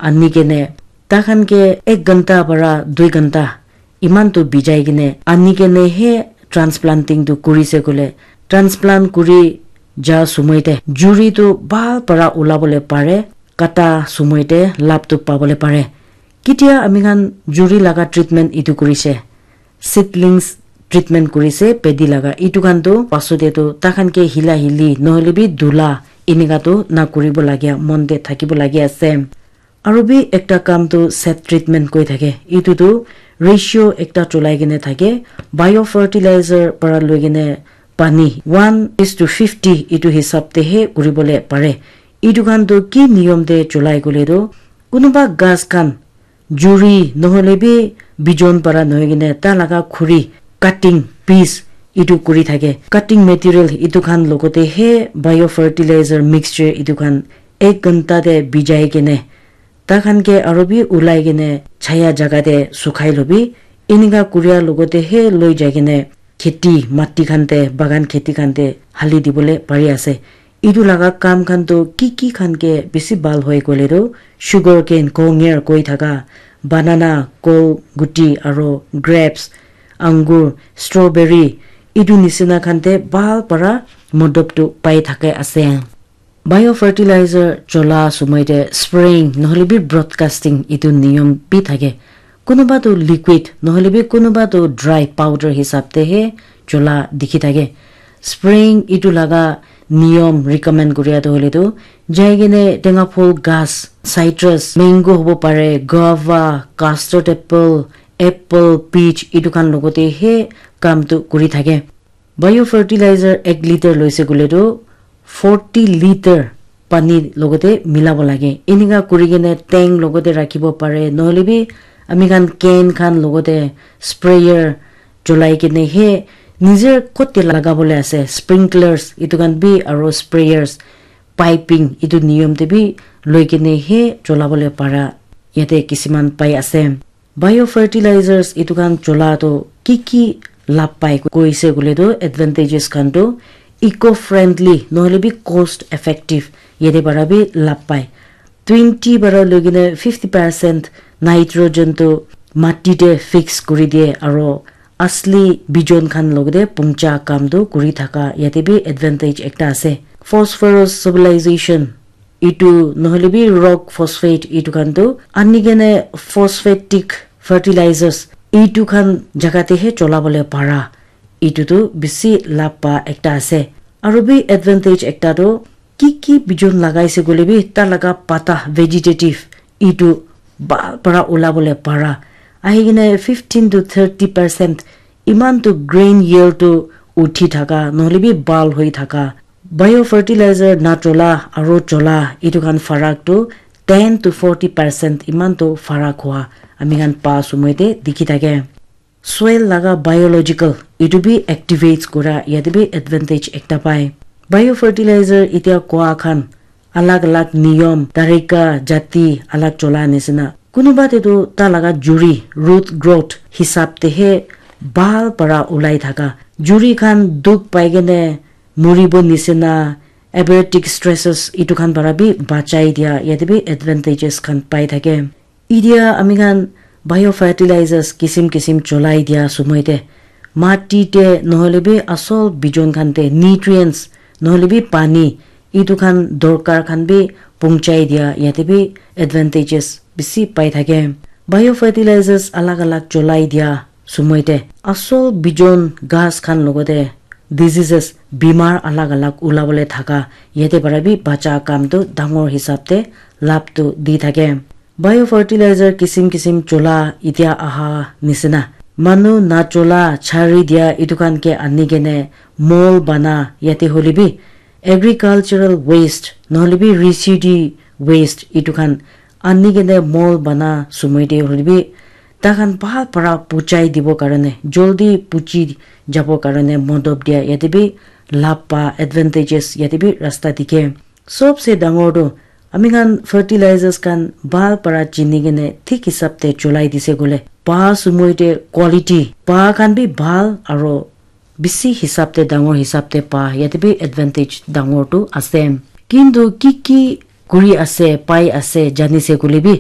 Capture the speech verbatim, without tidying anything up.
ani kene, takhan ke ek ghanta para dui ghanta iman tu bijai kene ani kene he transplanting tu kuri se kole, transplant kuri ja sumoi te juri tu bhal para ulabole pare, kata sumoi te lab tu pabole pare. Kitia ami khan juri laga treatment itu kuri se, seedlings treatment kuri se pedi laga, itu khan tu pasu te tu takhan ke hila hili nohole bi dula enika tu na kuribo lagia mon te thakibo lagia ase. Aru bi ekta kam tu set treatment koi thake, itu tu ratio ekta cholai kene thake, biofertilizer para loi kene pani one is to fifty itu hisab te he kuribole pare. Itu khan tu ki niyom te cholai kole tu, kunuba ghas khan juri nohole bi bijon para nohoi kene ta laga khuri, cutting piece itu kuri thake, cutting material itu khan logote he biofertilizer mixture itu khan ek ghanta te bijai kene takhan ke aru bi ulai kene chaya jaga te sukhai lobi. Enika kuria logote he loi jai kene kheti mati khan te, bagan kheti khan te hali dibole pari ase. Itu laga kam khan tu ki ki khan ke bishi bhal hoi koile tu, sugar cane, konger koi thaka, banana, kol guti aro grapes, angur, strawberry, itu nisina khan te bhal para modop tu pai thake ase. Biofertilizer chola sumoi te spraying nohole bi broadcasting itu niyom bi thake. Kunuba tu liquid nohole bi kunuba tu dry powder hisab te he chola dikhi thake. Spraying itu laga niyom recommend kuria tu hoile tu, jai kene tenga phul ghas, citrus, mango hobo pare, guava, custard apple, apple, peach itu khan logote he kam tu kuri thake. Biofertilizer ek liter loise koile tu forty liter pani logote milabo lage. Enika kuri kene tank logote rakhibo pare, nohole bi ami khan can khan logote sprayer cholai kene he nijer kot te lagabole ase, sprinklers itu khan bi aro sprayers, piping itu niyom te bi loi kene he cholabole para yate kisiman pai ase. Biofertilizers itu khan chola tu ki ki lab pai koise koile tu advantages khan tu eco friendly nohole bi cost effective yate para bi lab pai. Twenty para loi kene fifty percent nitrogen tu mati te fix kuri diye aro asli bijon khan logote pungcha kam tu kuri thaka yate bi advantage ekta ase. Phosphorus solubilization itu nohole bi rock phosphate itu khan tu ani kene phosphatic fertilizers itu khan jaga te he cholabole para, itu tu bishi lab pa ekta ase. Aru bi advantage ekta tu ki ki bijon lagaise koile bi ta laga pata vegetative itu bhal para ulabole para ahi kene fifteen to thirty percent iman tu grain yield tu uthi thaka nohole bi bhal hoi thaka. Biofertilizer na chola aro chola itu khan farak tu ten to forty percent iman tu farak hua ami khan pa sumoi te dikhi thake. Soil laga biological itu bi activates kura yate bi advantage ekta pai. Biofertilizer itia koa khan alag alag niyom, tarika, jati alag chola nisina. Kunuba te tu ta laga juri, root growth hisab te he bhal para ulai thaka. Juri khan dukh pai kene muribo nisina, abiotic stresses itu khan para bi bachai dia yate bi advantages khan pai thake. Idia ami khan biofertilizers kisim kisim cholai dia sumoi te mati te nohole bi asol bijon khan te nutrients nohole bi pani itu khan dorkar khan bi pungchai dia yate bi advantages bishi pai thake. Biofertilizers alag alag cholai dia sumoi te asol bijon ghas khan logote diseases bimar alag alag ulabole thaka yate para bi bacha kam tu dangor hisab te lab tu di thake. Biofertilizer kisim kisim chola itia aha nisina. Manu na chola chari dia itu khan ke ani kene mol bana yate hole bi agricultural waste nohole bi residue waste itu khan ani kene mol bana sumoi te hole bi ta khan bhal para puchai dibo karone joldi puchi jabo karone modop dia yate bi lab pa advantages yate bi rasta dikhe. Sobse dangor tu ami khan fertilizers khan bhal para chini kene thik hisab te cholai dise koile pa sumoi te quality pa khan bi bhal aro bishi hisab te dangor hisab te pa yate bi advantage dangor tu ase. Kintu ki ki kuri ase pai ase jani se koile bi